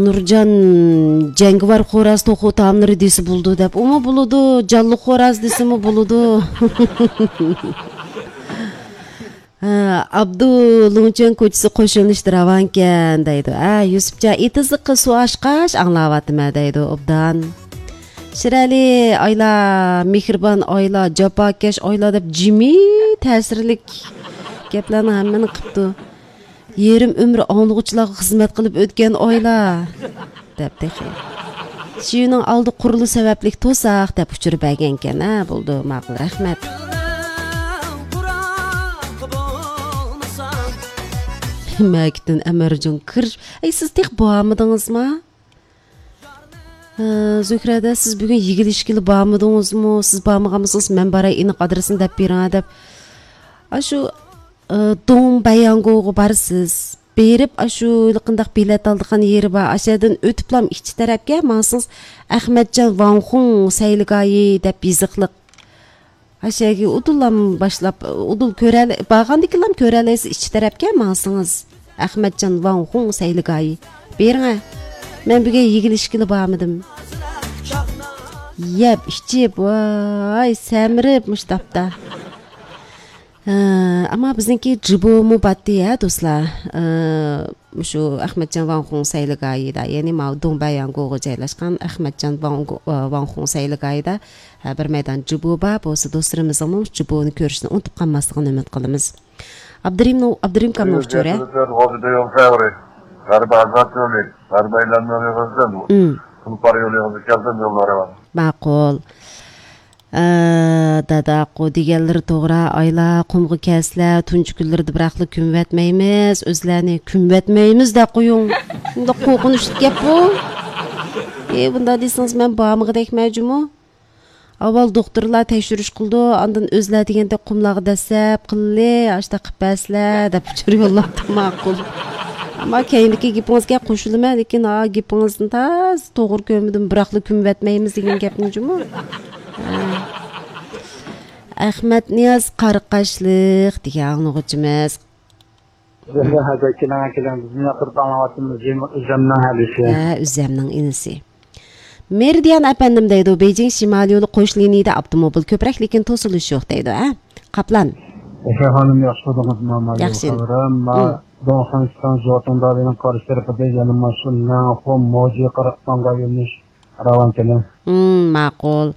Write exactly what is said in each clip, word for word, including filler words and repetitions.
نۇرجان جەڭگىۋار خوراز توخۇ تائاملىرى دېسە بولىدۇ دەپ، ئۇمۇ بولىدۇ، جانلىق خوراز دېسىمۇ بولىدۇ. ھە، ئابدۇ لۇڭچۈەن كوچىسى قوشۇلۇشتا راۋانكەن دەيدۇ. ھە، يۈسۈپجان ئېتىزلىققا سۇ ئاچقاچ ئاڭلاۋاتىمەن دەيدۇ ئوبدان. شىرئەلى ئايلا، مېھرىبان ئايلا، جاپاكەش ئايلا دەپ جىمى تەسىرلىك گەپلەرنىڭ ھەممىنى قىپتۇ. يېرىم ئۆمرى ئاڭلىغۇچىلارغا خىزمەت قىلىپ ئۆتكەن ئايلا دەپ تېخى. شىۋىنىڭ ئالدى قۇرۇلۇش سەۋەبلىك توساق دەپ ئۇچۇر بەرگەنكەن. ھە، بولدى، ماقۇل، رەھمەت. مەكىتتىن ئەمەرجان كىر. ئەي، سىز تېخى بارمىدىڭىزما؟ ھە، زۆھرەدە، سىز بۈگۈن يىگلىشكىلى بارمىدىڭىزمۇ؟ سىز بارمىغان بولسىڭىز، مەن باراي، ئېنىق ئادرېسىنى دەپ بېرىڭە دەپ. ئاشۇ، ئە، دۇڭ بەيياڭگوغا بارىسىز. بېرىپ، ئاشۇ قانداق بېلەت ئالىدىغان يېرى بار. ئاشۇ يەردىن ئۆتۈپلام ئىچ تەرەپكە ماڭسىڭىز، ئەخمەتجان ۋاڭخۇڭ سەيلىگاھى دەپ يېزىقلىق. ئاشۇ يەرگە ئۇدۇللام باشلاپ، ئۇدۇل كۆرەلەي-، بارغاندىكىنلام كۆرەلەيسىز ئىچ تەرەپكە ماڭسىڭىز. ئەخمەتجان ۋاڭخۇڭ سەيلىگاھى. بېرىڭە. مەن بۈگۈن يىگلىشكىلى بارمىدىم. يەپ، ئىچىپ، ۋاي، سەمرىپ مۇشۇ تاپتا. ھە، ئەمما بىزنىڭكى جىبومۇ باتتى ھە، دوستلار. ئە، مۇشۇ ئەخمەتجان ۋاڭخۇڭ سەيلىگاھىدا، يەنى ماۋۇ دۇڭبەيياڭگوغا جايلاشقان ئەخمەتجان ۋاڭگو-، ئە، ۋاڭخۇڭ سەيلىگاھىدا، ھە، بىر مەيدان جىبو بار. بولسا دوستلىرىمىزنىڭمۇ جىبونى كۆرۈشنى ئۇنتۇپ قالماسلىقىنى ئۈمىد قىلىمىز. ئابدۇرېھىم، ئابدۇرېھىم كامنىڭ ئۇچۇرى. غازىدە يول سەۋرى. غەربىي ئازاد يولى. غەربىي ئەيلەنمە يولى غازىدە بۇ. ئىم. تۇلپار يولى غازى كەلدىم يوللارى بار. ماقۇل. ئە، داداقۇ دېگەنلىرى توغرا، ئايلا قۇمغا كەلسىلە، تۇنجى كۈنلىرىدە بىراقلا كۆمۈۋەتمەيمىز، ئۆزلەرنى كۆمۈۋەتمەيمىز دەپ قويۇڭ. شۇنداق قورقۇنچلۇق گەپ بۇ. ئى، بۇنداق دېسىڭىز، مەن بارمىغۇدەكمەن جۇمۇ. ئاۋۋال دوختۇرلار تەكشۈرۈش قىلىدۇ، ئاندىن ئۆزلەر دېگەندەك قۇملارغا دەسسەپ، قىللى، ئاشۇنداق قىلىپ بەرسىلە، دەپ ئۇچۇر يوللاپتۇ، ماقۇل. ئەمما كەينىدىكى گېپىڭىزگە قوشۇلىمەن، لېكىن ھا، گېپىڭىزنى تازا توغرا كۆرمىدىم، بىراقلا كۆمۈۋەتمەيمىز دېگەن گەپنى جۇمۇ. ھە. ئەخمەتنىياز قارىقاشلىق دېگەن ئاڭلىغۇچىمىز. زۆھرە ھەزرەت، كېلىڭە، كېلىڭە، بىزنى ياقتۇرۇپ ئاڭلاۋاتىمىز، ئۆزەمنىڭ ھەدىسى. ھە، ئۆزەمنىڭ ئىنىسى. مېرىدىيان ئەپەندىم دەيدۇ، بېيجىڭ شىمالىي يولى قوش لىنىيىدە ئاپتوموبىل كۆپرەك، لېكىن توسۇلۇش يوق دەيدۇ، ھە؟ قاپلان. ئوشا خانىم، ياخشى تۇردىڭىزمۇ؟ مانا ياخشى. خەۋىرىم، ما، مم. دوڭخەنشىتاڭ جوتۇڭدالىنىڭ قارشى تەرىپىدە يەنە ماشىنا نەڭخۇ موجى قاراقسانغا يۆنىلىش راۋان كېلىڭ. مم، ماقۇل.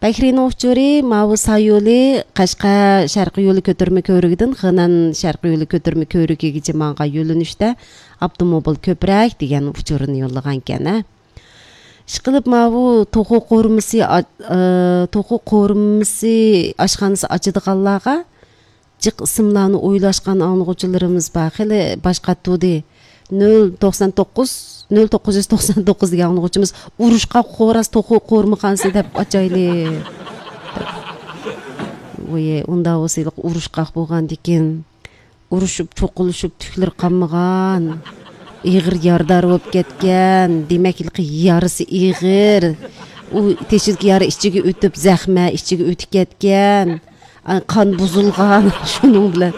بەكرىنىڭ ئۇچۇرى ماۋۇ سايولى قەشقەر شەرقىي يولى كۆتۈرمە كۆۋرۈكىدىن خېنەن شەرقىي يولى كۆتۈرمە كۆۋرۈكىگىچە ماڭغان يۆنىلىشتە ئاپتوموبىل كۆپرەك دېگەن ئۇچۇرنى يوللىغانىكەن، ھە. ئىشقىلىپ ماۋۇ توخۇ قورۇمىسى ئا-، ئە، توخۇ قورۇمىسى ئاشخانىسى ئاچىدىغانلارغا جىق ئىسىملارنى ئويلاشقان ئاڭلىغۇچىلىرىمىز بار. خېلى باش قاتتۇردى. نۆل توقسان توققۇز، نۆل توققۇز يۈز توقسان توققۇز دېگەن ئاڭلىغۇچىمىز، ئۇرۇشقاق خوراز توخۇ قورۇمىخانىسى دەپ ئاچايلى. ۋوي، ئۇنداق بولسا ھېلىقى ئۇرۇشقاق بولغاندىكىن، ئۇرۇشۇپ، چوقۇلۇشۇپ، تۈكلىرى قانمىغان، ئېغىر يارىدار بولۇپ كەتكەن، دېمەك، ھېلىقى يارىسى ئېغىر. ئۇ تېشىدىكى يارا ئىچىگە ئۆتۈپ، زەخمە ئىچىگە ئۆتۈپ كەتكەن. ئا، قان بۇزۇلغان، شۇنىڭ بىلەن